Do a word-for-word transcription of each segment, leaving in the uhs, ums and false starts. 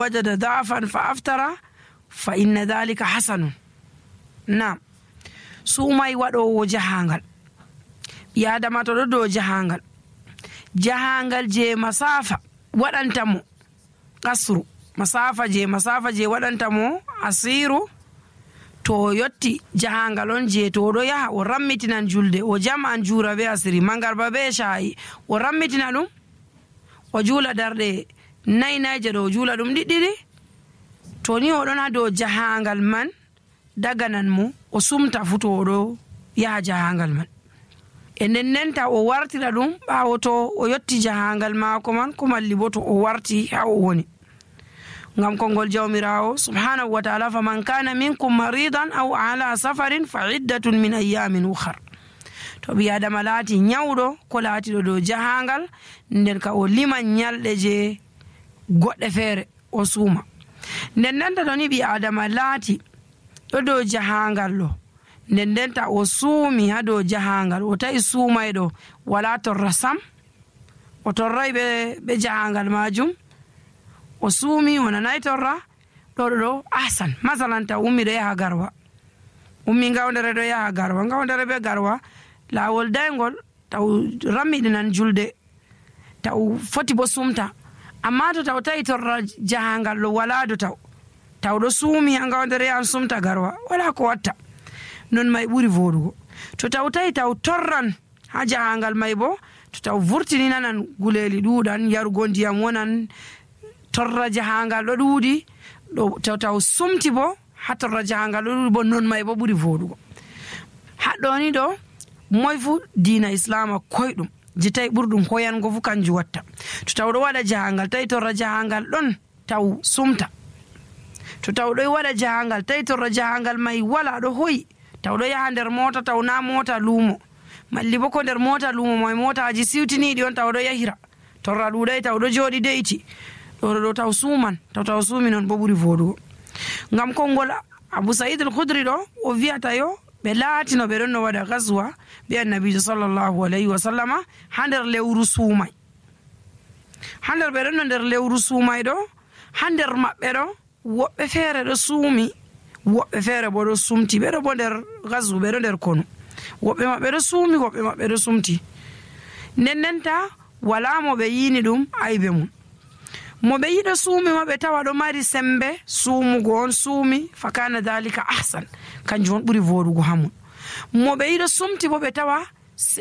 wajada da'afan fa aftara fa inna dhalika hasanun. Naam, suumay waɗowo jahangal. ɓi adama to ɗo dow jahangal, jahangal je masafa waɗantamo kasru, masafa je masafa je waɗantamo asiru, to o yotti jahangal on je to oɗo yaha o rammitinan julde, o jam'an jura be asiri, mangarba be shayi, o rammitina ɗum o juula darɗe nayi nayje ɗo o juula ɗum ɗiɗɗiɗi. to ni oɗon ha dow jahangal man daganan mo o sumta fu to oɗo yaha jahangal man, e nden ndenta o wartira ɗum ɓawo to o yotti jahangal maako man, ko malli bo to o warti ha o woni. ngam kongol jawmirawo subhanahu wa ta'ala, faman kana minkum maridan aw ala safarin fa iddatun min ayyamin ukhar. to ɓi adama laati nyawɗo ko laatiɗo dow jahangal, nden ka o liman nyalɗe je goɗɗe feere o suuma. nden ndenta to ni ɓi adama laati ɗo dow jahangal ɗo, nden ndenta o suumi ha dow jahangal, o tawi suumayɗo wala torra sam, o torray ɓe ɓe jahangal majum, o suumi o nanay torra, ɗo ɗo ɗo ahsan. masalan taw ummi ɗo yaha garwa, ummi ngawdere ɗo yaha garwa, ngawdere be garwa lawol daygol, taw rammiɗinan julde, taw foti bo sumta, amma to taw tawi torra jahangal ɗo wala do taw taw ɗo suumi ha ngawdere yahan sumta garwa, wala ko watta. non may ɓuri voɗugo. to taw tawi taw torran ha jahangal may bo, to taw vurtini nanan guleli ɗuɗan, yarugo ndiyam wonan, torra jahangal ɗo ɗuuɗi, ɗo taw taw sumti bo ha torra jahangal ɗo ɗuuɗi bo, non may bo ɓuri voɗugo. haɗɗoni ɗo moy fu diina islama koyɗum je tawi ɓurɗum hoyango fu kanjum watta. to taw ɗo waɗa jahangal tawi torra jahangal ɗon taw sumta, to taw ɗo waɗa jahangal tawi torra jahangal may wala ɗo hoyi, taw ɗo yaha nder mota, taw na mota luumo, malli bo ko nder mota luumo may motaji siwtiniɗi on taw ɗo yahira, torra ɗuɗay taw ɗo jooɗi de'iti, ɗo ɗo taw suuman, taw taw suumi non bo ɓuri voɗugo. ngam konngol Abu Sa'id al-Khudri ɗo o wiyata yo ɓe laatino ɓe ɗon no waɗa gaswa be annabijo sallallahu alayhi wa sallama ha nder lewru suumay. ha nder ɓe ɗon no nder lewru suumay ɗo, ha nder maɓɓe ɗo woɓɓe feere ɗo suumi, woɓɓe feere bo ɗo sumti, ɓeɗo bo nder gaswu, ɓeɗo nder konu, woɓɓe maɓɓe ɗo suumi, woɓɓe maɓɓe ɗo sumti. nden ndenta wala mo ɓe yini ɗum aybe mum. mo ɓe yiɗo suumi ma ɓe tawa ɗo mari sembe suumugo on suumi, fa kana dhalika ahsan, kanjum on ɓuri voɗugo ha mum. mo ɓe yiɗo sumti bo ɓe tawa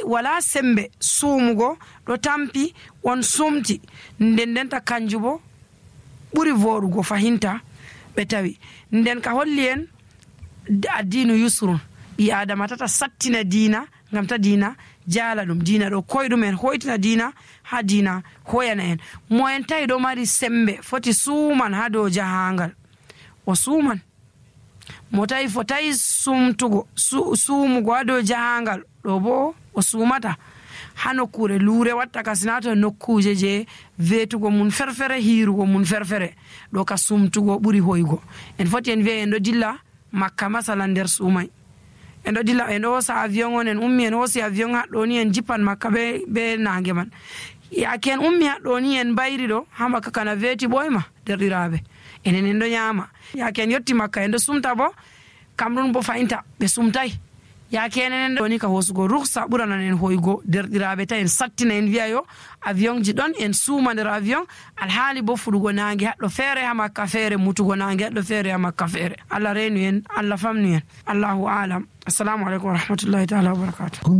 wala sembe suumugo, ɗo tampi on sumti, nden ndenta kanjum bo ɓuri voɗugo fahinta ɓe tawi. nden ka holli en addinu yusrun, ɓi adama tata sattina diina ngam ta diina jaala ɗum. diina ɗo koyɗum en hoytina diina ha diina hoyana en. mo en tawi ɗo mari sembe foti suuman ha dow jahangal, o suuman. mo tawi fotayi sumtugo su, suumugo ha dow jahangal ɗo bo o suumata ha nokkure luure watta ka, sinato nokkuje je vetugo mun ferfere, hiirugo mun ferfere, ɗo ka sumtugo ɓuri hoygo. en foti en wiya en ɗo dilla makka masalan nder suumay, en ɗo dilla en ɗo hosa avion on, en ummi en hosi avion haɗɗo ni en jippan makka be, be nange man, yake en ummi haɗɗo ni en bayri ɗo ha makka kana veti ɓoyma derɗiraɓe, enen en ɗo ñaama. yake en yetti makka en ɗo sumta bo, kamɗum bo fayinta ɓe sumtay, yake enen ɗo ni ka hosugo ruksa ɓuranan en hoygo derɗiraɓe, ta en sattina en wiya yo avion ji ɗon, en suuma nder avion, alhaali bo fuɗugo nange haɗɗo feere ha makka feere, mutugo nange haɗɗo feere ha makka feere. Allah reenu en, Allah famnu en, Allahu alam. Assalamu alaikum wa rahmatullahi ta'ala wa barakatuh.